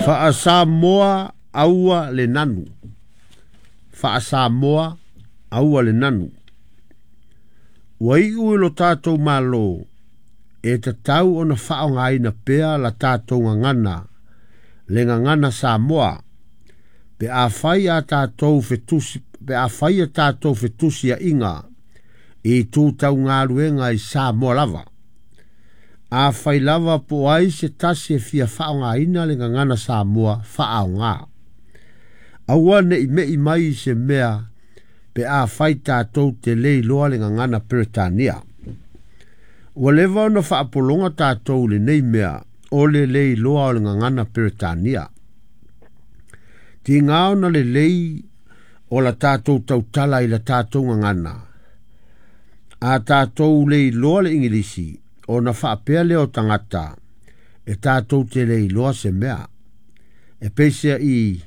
Faa-Samoa aua le nanu. Faa-Samoa aua le nanu. Ua iu i lo tatou Malo e tatau ona faaaogaina pea la tatou gagana, le gagana Samoa, pe afai a tatou fetusi, pe afai a tatou fetusiaiga i itu tau galuega i Samoa lava. Afai lava po o ai se tasi e fia faaaogaina le gagana Samoa, faaaoga. Aua ne i me'i mai i se mea pe afai tatou te le iloa le gagana Peretania. Ua leva ona faapologa tatou i lenei mea o le le iloa o le gagana Peretania. Tiga ona lelei o la tatou tautala i la tatou gagana. A tatou le iloa le Igilisi, ona faapea lea o tagata, e tatou te le iloa se mea. E peiseai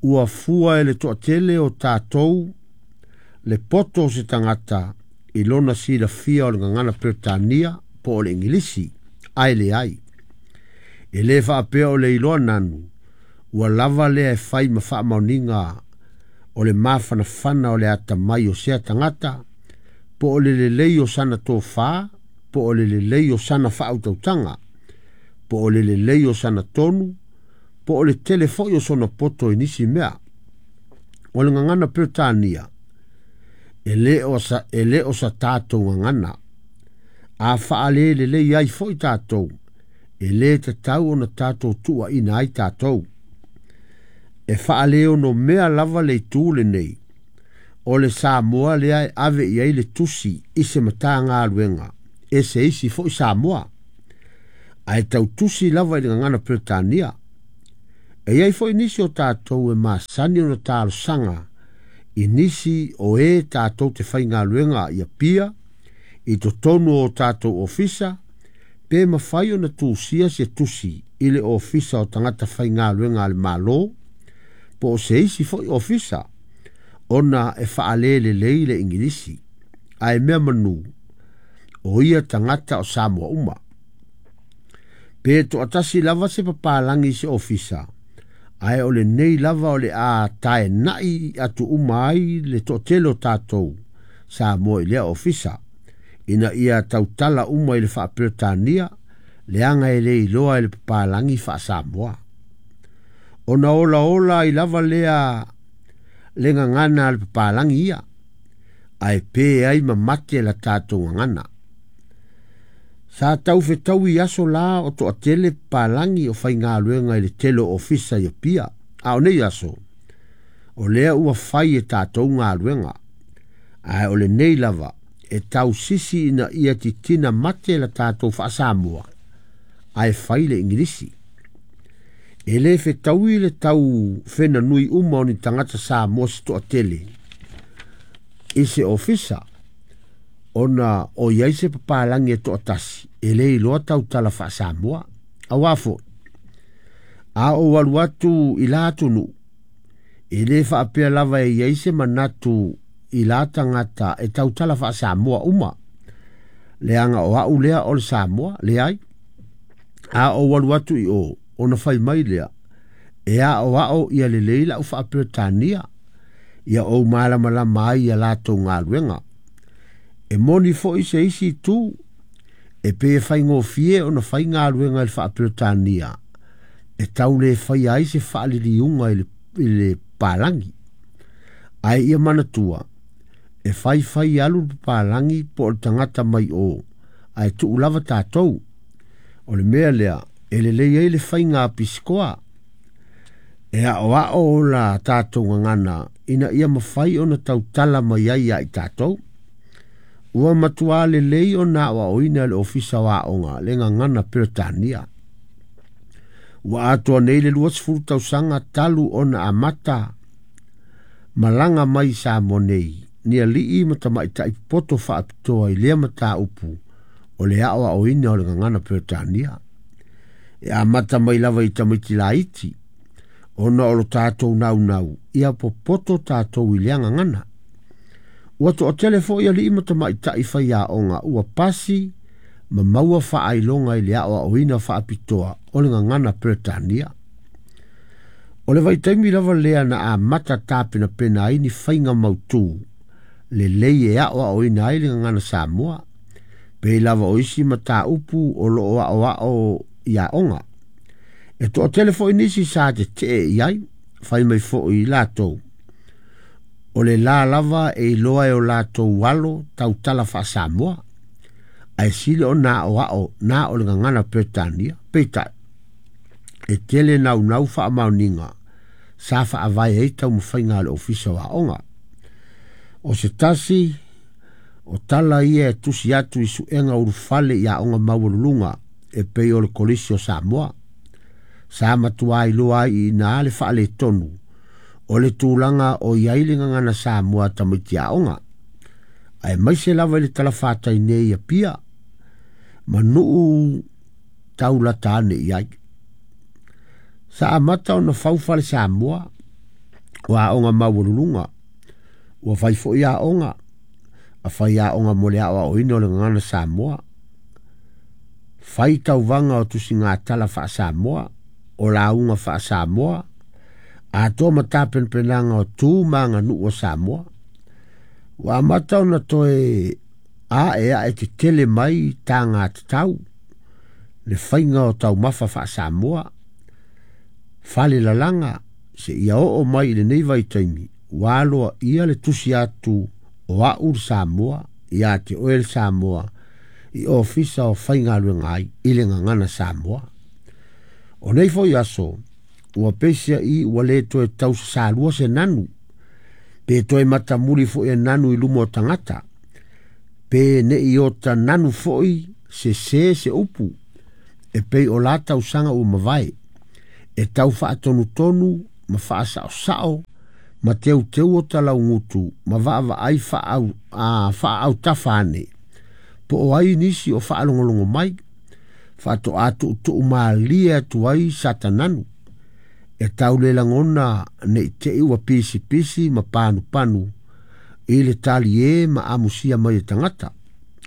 ua fua e le toatele o tatou le poto o se tagata i lona silafia o le gagana Peretania po o le Igilisi, ae leai. E le faapea o le iloa nanu, ua lava lea e fai ma faamaoniga o le mafanafana o le atamai o sea tagata, po o le lelei o sana tofa, po o le lelei o sana faautautaga, po o le lelei o sana tonu, po o le tele foi o sona poto i nisi mea. O le gagana Peretania, e le o sa, e le o sa tatou gagana. A faalelelei ai foi tatou, e le tatau ona tatou tuuaina ai tatou. E faaleonomea lava le itu lenei, o le Samoa lea e ave i ai le tusi i se Matagaluega e se isi foi Samoa, ae tautusi lava i le gagana Peretania. E i ai foi nisi o tatou e masani ona talosaga i nisi o e tatou te faigaluega i Apia, i totonu o tatou ofisa, pe mafai ona tusia se tusi i le Ofisa o Tagata Faigaluega a le Malo, po o se isi foi ofisa, ona e faalelelei le Igilisi, ae mea manu, o ia tagata o Samoa uma. Pe toatasi lava se papalagi i se ofisa, ae o lenei lava o le a taenai atu uma ai le toatele o tatou Samoa i lea ofisa, ina ia tautala uma i le faa-Peretania, leaga e le iloa e le papalagi faa-Samoa. Ona olaola ai lava lea le gagana a le papalagi ia, ae pe ai ma mate la tatou gagana. Sa tau fetaui aso la o toatele papalagi o faigaluega i le tele o ofisa i Apia, a o nei aso, o lea ua fai e tatou galuega, ae o lenei lava e tausisi ina ia titina mate la tatou faa-Samoa, ae fai le Igilisi. E le fetaui le tau fenanui uma o ni tagata Samoa se toatele i se ofisa, ona o i ai se papalagi e toatasi e le iloa tautala faa-Samoa. Auā foi, a ou alu atu i la atunuu, e le faapea lava e i ai se manatu i la tagata e tautala faa-Samoa uma, leaga o au lea o le Samoa, leai. A ou alu atu i o, ona fai mai lea, e aoao ia lelei lau faa-Peretania, ia ou malamalama ai ia latou galuega. E moni foi se isi itu, e pei e faigofie ona fai galuega i le faa-Peretania, e tau le faia ai se faaliliuga i le papalagi. Ae ia manatua, e faifai alu le papalagi po o le tagata mai o, ae tuu lava tatou. O le mea lea e lelei ai le faiga a pisikoa, e aoao la tatou gagana ina ia mafai ona tautala mai ai ia i tatou. Ua matua lelei ona aoaoina e le Ofisa o Aoga le gagana Peretania. Ua atoa nei le 20 tausaga talu ona amata malaga mai i Samoa nei, ni alii ma tamaitai popoto faapitoa i lea mataupu o le aoaoina o le gagana Peretania. E amata mai lava i tamaiti laiti, ona o lo tatou naunau ia popoto tatou i lea gagana. Ua toatele foi alii ma tamaitai faiaoga ua pasi ma maua faailoga i le aoaoina faapitoa o le gagana Peretania. O le vaitaimi lava lea na amata tapenapena ai ni faiga mautū lelei e aoaoina ai le gagana Samoa, pei lava o isi mataupu o loo aoao i aoga. E toatele foi nisi sa tetee i ai, fai mai foi i latou. O le la lava e iloa e o latou alo tautala faa-Samoa, ae sili ona aoao na o le gagana Peretania. Peitai, e tele naunau faamaoniga sa faavae ai taumafaiga a le Ofisa o Aoga. O se tasi o tala ia e tusi atu i suega ulufale i aoga maualuluga e pei o le Kolisi o Samoa. Sa matua iloa ai i ina le faaletonu o le tulaga o i ai le gagana Samoa a tamaiti aoga, aemaise lava i le talafatai nei i Apia ma nuu taulata ane i ai. Sa amata ona fau fale Samoa o aoga maualuluga. Ua fai foi aoga, a fai aoga mo le aoaoina o le gagana Samoa. Fai tauvaga o tusigatala faa-Samoa, o lauga faa-Samoa, atoa ma tapenapenaga o tu ma aganuu a Samoa. Ua amata ona toe ae ae tetele mai taga tatau le faiga o taumafa faa-Samoa, fale lalaga seia oo mai i lenei vaitaimi ua aloaia le tusi atu o au le Samoa ia te oe le Samoa i ofisa o faigaluega ai i le gagana Samoa. O nei foi aso, ua peiseai ua le toe tausasalua se nanu, pe toe matamuli foi e nanu i luma o tagata, pe nei ota nanu foi sesē se upu, e pei o la tausaga ua mavae, e tau faatonutonu ma faasaosao ma teuteu o talaugutu ma vaavaai faaautafa ane, po o ai nisi o faalogologo mai, faatoa tuutuu malie atu ai sata nanu, e tau le lagona nei te i ua pisipisi ma panupanu i le talie ma amusia mai e tagata.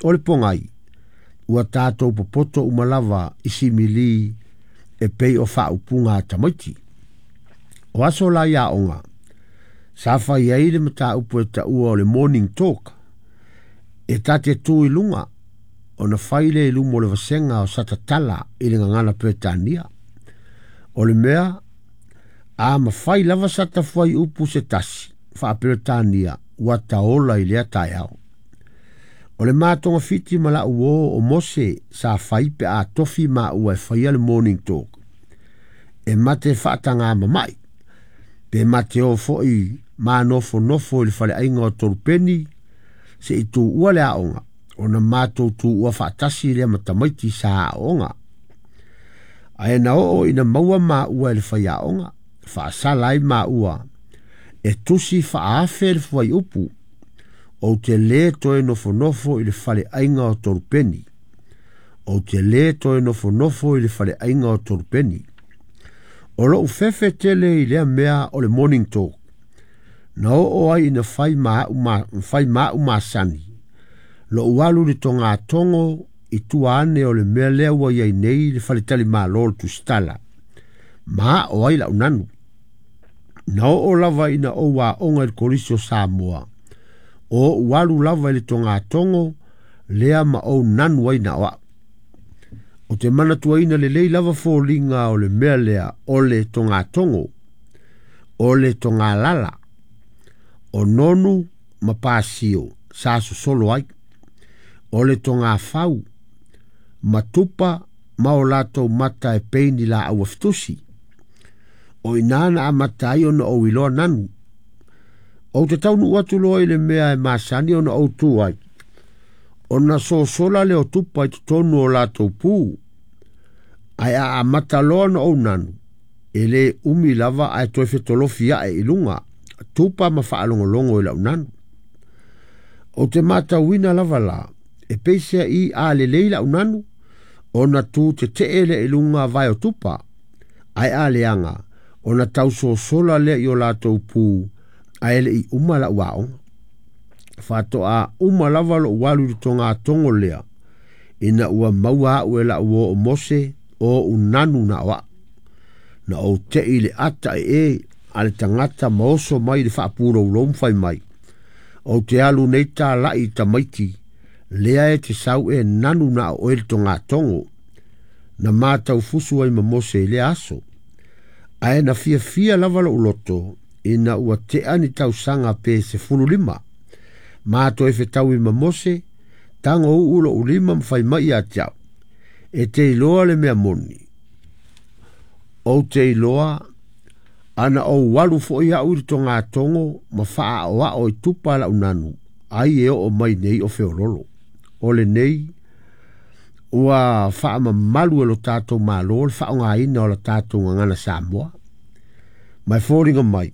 O le pogai, ua tatou popoto uma lava i simili e pei o faaupuga a tamaiti. O aso la i aoga, sa fai ai le mataupu e taua o le morning talk, e ta te tu i luga, ona fai lea i luma o le vasega o satatala i le gagana Peretania. O le mea, a mafai lava sata fuaiupu se tasi faa-Peretania ua taola i lea taeao. O le matogafiti ma lau uō o Mose sa fai pe a tofi maua e faia le morning talk, e mate faatagā mama'i, pe mate o foi manofonofo i le faleaiga o Tolupeni se'i tuua le aoga, ona matou tuua faatasi lea ma tamaiti sa aooga. Ae na oo ina maua maua e le faiaoga, faasala ai maua e tusi faaafe le fuaiupu, ou te lē toe nofonofo i le faleaiga o Tolupeni. Ou te lē toe nofonofo i le faleaiga o Tolupeni. O lou fefe tele i lea mea o le morning talk, na oo ai ina fai ma au masani, lou alu i le togatogo i tua ane o le mea lea ua i ai nei le faletalimalo o le Tusitala, ma ao ai lau nanu. Na oo lava ina ou aoga i le Kolisi o Samoa, o ou alu lava i le togatogo lea ma ou nanu ai na o au. O te manatuaina lelei lava foliga o le mea lea o le togatogo, o le togalala, o nonu ma pasio sa sosolo ai, o le togafau, ma tupa ma o latou mata e pei ni laau afitusi. O ina na amata ai ona ou iloa nanu. Ou te taunuu atu loa i le mea e masani ona ou tu ai, ona sosola lea o tupa i totonu o latou pu, ae a amata loa ona ou nanu, e lē umi lava ae toe fetolofi ae i luga, tupa ma faalogologo i lau nanu. Ou te matauina lava la, e peiseai a lelei lau nanu, ona tu tetee lea i luga vae o tupa, ae a leaga, ona tausosola lea i o latou pu, ae le'i uma lau aoga. Faatoa uma lava lou alu i le togatogo lea, ina ua maua au e lau uō o Mose o ou nanu na o au. Na ou te'i i le ata ee a le tagata ma oso mai i le faapuloulou ma fai mai, Ou te alu nei tala'i i tamaiti, lea e te sau e nanu na o oe le togatogo. Na mataufusu ai ma Mose i lea aso. Ae na fiafia lava lo'u loto ina ua te'a ni tausaga pe 15. Ma toe fetaui ma Mose, tago uu lo'u lima ma fai mai ia te a'u, E te iloa le mea moni. Ou te iloa ana ou alu fo'i a'u i le togatogo ma fa'aaoa'o i tupa la'u nanu, ai e oo mai nei o feololo. O lenei, ua faamamalu e lo tatou Malo le faaaogaina o la tatou gagana Samoa. Ma e foliga mai,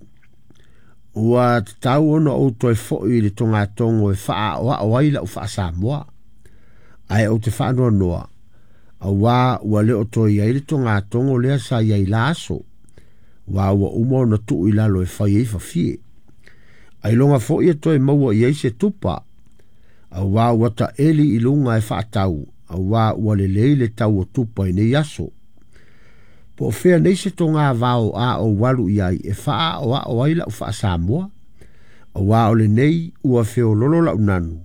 ua tatau ona ou toe fo'i i le togatogo e fa'aaoa'o ai la'u fa'asamoa. Ae ou te faanoanoa, auā ua le o toe i ai le togatogo lea sa i ai la aso, uā ua uma ona tuu i lalo e fai ai fafie. Ailoga foi e toe maua i ai se tupa, auā ua taeli i luga e faatau, auā ua lelei le tau o tupa i nei aso. Po o fea nei se togavao a ou alu i ai e fa'aaoa'o ai la'u fa'asamoa, auā o lenei ua feololo la'u nanu,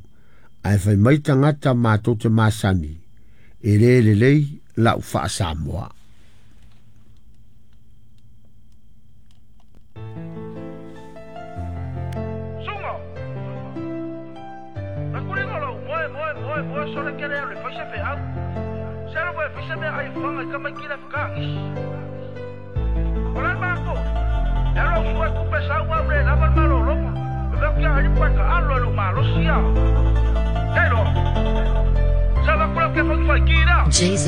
ae fai mai tagata matou te masani, e lē lelei la'u fa'asamoa. Suga! Na kuliga lou moe moe moe moe sole kele alu e fai se feau. Se alu foi e fai se meaai e faga i tamaiti le fekaagisi. O le matou, e alu au sua e tupe sau au le lava le malologa. E veu kia alipo e ka alo e lou malosi a. Kei loa. Sa avatu lea ke fai fai ki lea.